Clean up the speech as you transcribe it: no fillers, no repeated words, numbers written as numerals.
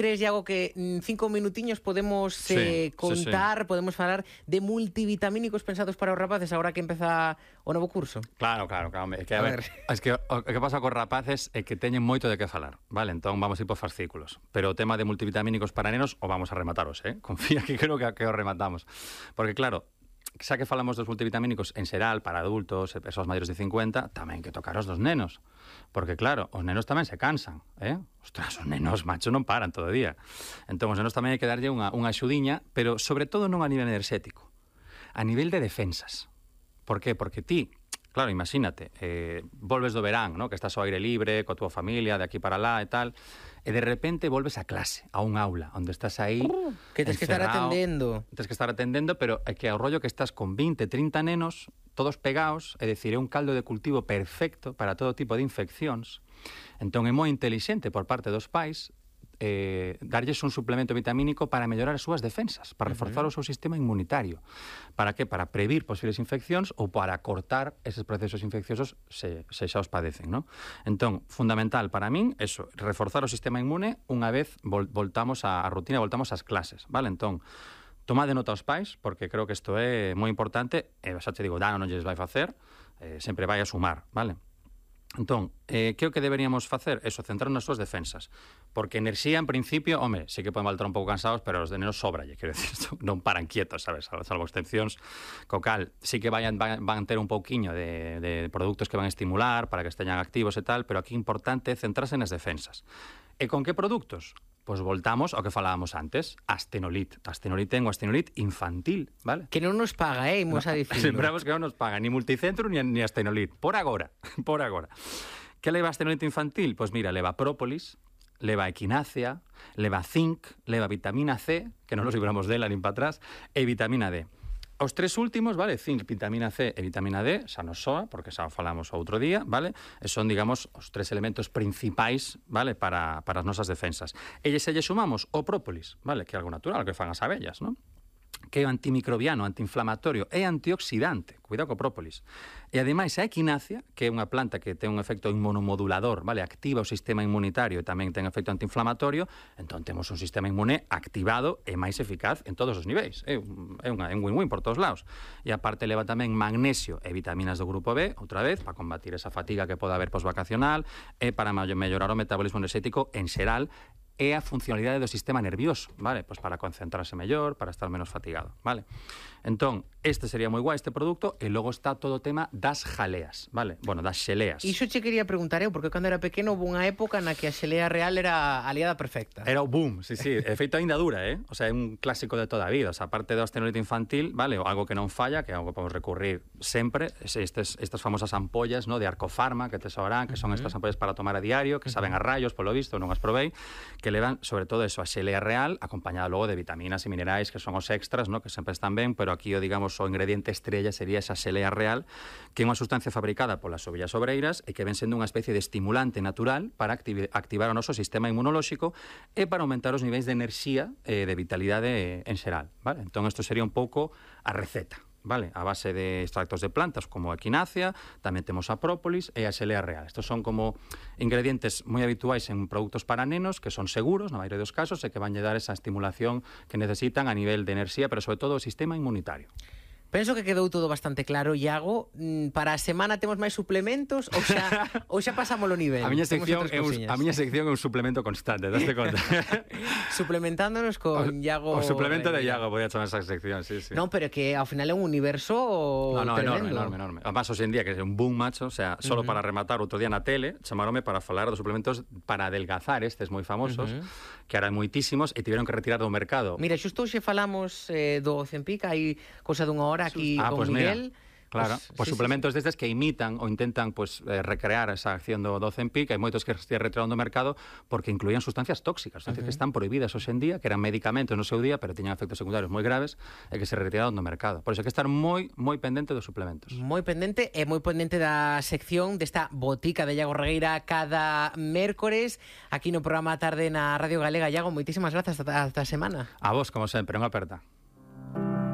crees, Iago, que en 5 minutiños podemos contar, podemos falar de multivitamínicos pensados para os rapaces agora que empeza o novo curso? Claro. É que, a ver, es que o que pasa cos rapaces é que teñen moito de que falar, vale? Entón vamos a ir por fascículos. Pero o tema de multivitamínicos para nenos o vamos a remataros, Confía que creo que o rematamos. Porque, claro, xa que falamos dos multivitamínicos en xeral para adultos e persoas maiores de 50, tamén que tocaros dos nenos. Porque, claro, os nenos tamén se cansan, Ostras, os nenos, macho, non paran todo o día. Entón, os nenos tamén hai que darlle unha axudiña, pero sobre todo non a nivel enerxético, a nivel de defensas. Por qué? Porque ti, claro, imagínate, volves do verán, que estás ao aire libre, coa túa familia, de aquí para lá e tal, e de repente volves a clase, a un aula, onde estás aí que tens que estar atendendo. Tens que estar atendendo, pero é que ao rollo que estás con 20, 30 nenos, todos pegados, é dicir, é un caldo de cultivo perfecto para todo tipo de infeccións. Entón é moi intelixente por parte dos pais darlles un suplemento vitamínico para mellorar as súas defensas, para reforzar o seu sistema inmunitario. Para que? Para previr posibles infeccións ou para cortar eses procesos infecciosos se xa os padecen, non? Entón, fundamental para min, eso, reforzar o sistema inmune unha vez voltamos á rutina, voltamos ás clases, vale? Entón, tomade nota aos pais, porque creo que isto é moi importante, e xa te digo, non lles vai facer, sempre vai a sumar, vale? Entón, que é o que deberíamos facer? Eso, centrar nas súas defensas. Porque enerxía, en principio, home, sí que poden voltar un pouco cansados, pero os de nenos sóbralle, quero decir, non paran quietos, sabes, salvo excepcións, co cal, sí que van ter un pouquiño de produtos que van estimular para que esteñan activos e tal, pero aquí importante é centrarse nas defensas. E con que produtos? Pois voltamos ao que falábamos antes, Astenolit. Astenolit ten o Astenolit infantil, vale? Que non nos paga, imos a dicirlo. Lembramos que non nos paga ni Multicentro ni Astenolit, por agora. Que leva Astenolit infantil? Pois mira, leva própolis, leva equinácea, leva zinc, leva vitamina C, que non nos libramos dela nin para atrás, e vitamina D. Os tres últimos, vale, zinc, vitamina C e vitamina D, xa nos soa, porque xa falamos outro día, vale, e son, digamos, os tres elementos principais, vale, para as nosas defensas. E se lle sumamos o própolis, vale, que é algo natural, que fan as abellas, non? Que é antimicrobiano, antiinflamatorio e antioxidante, cuidado co própolis. E ademais a equinácea, que é unha planta que ten un efecto inmunomodulador, vale, activa o sistema inmunitario e tamén ten efecto antiinflamatorio, entón temos un sistema inmune activado e máis eficaz en todos os niveis. É un win-win por todos lados. E aparte leva tamén magnesio e vitaminas do grupo B, outra vez, para combatir esa fatiga que pode haber posvacacional e para mellorar o metabolismo enerxético en xeral e a funcionalidade do sistema nervioso, vale? Pois para concentrarse mellor, para estar menos fatigado, vale? Entón, este sería moi guai, este produto, e logo está todo o tema das jaleas, vale? Bueno, das xeleas. Iso che quería preguntar eu, porque cando era pequeno houve unha época na que a xelea real era a aliada perfecta. Era o boom, sí. De feito, ainda dura, O sea, é un clásico de toda a vida. O sea, aparte do Astenolit infantil, vale? Algo que non falla, que é algo que podemos recurrir sempre, estas famosas ampollas, no? De Arcofarma, que te saberán, que son estas ampollas para tomar a diario, que saben a rayos, polo visto, non as probei, que levan, sobre todo eso, a xelea real, acompañada logo de vitaminas e minerais, que son os extras, no? Que sempre están ben, pero aquí, digamos, o ingrediente estrella sería esa xelea real, que é unha sustancia fabricada polas ovellas obreiras e que ven sendo unha especie de estimulante natural para activar o noso sistema inmunolóxico e para aumentar os niveis de enerxía e de vitalidade en xeral, vale? Entón, isto sería un pouco a receta, vale? A base de extractos de plantas como a equinácea, tamén temos a própolis e a xelea real. Estos son como ingredientes moi habituais en produtos para nenos, que son seguros, na maioría dos casos, e que van lle dar esa estimulación que necesitan a nivel de enerxía, pero sobre todo o sistema inmunitario. Penso que quedou todo bastante claro, Iago. Para a semana temos máis suplementos ou xa pasamos o nivel? A miña sección é un suplemento constante, daste conta. Suplementándonos con Iago. O suplemento de Iago, podía chamar esa sección, sí. Non, pero que ao final é un universo tremendo. Enorme. Además, hoxe en día, que é un boom, macho, o sea, solo para rematar, outro día na tele, chamaronme para falar dos suplementos para adelgazar, estes moi famosos, que eran moitísimos e tiveron que retirar do mercado. Mira, xusto hoxe falamos do Ozempic, hai cousa dunha hora aquí con Miguel. Mira. Claro, pues suplementos destes que imitan ou intentan recrear esa acción do Ozempic. Hai moitos que se retiraron do mercado porque incluían sustancias tóxicas, sustancias que están prohibidas hoxe en día, que eran medicamentos no seu día, pero tiñan efectos secundarios moi graves e que se retiraron do mercado. Por iso hai que estar moi pendente dos suplementos. Moi pendente da sección desta botica de Iago Regueira cada mércores aquí no programa Tarde na Radio Galega. Iago, moitísimas grazas ata a semana. A vos, como sempre, unha aperta.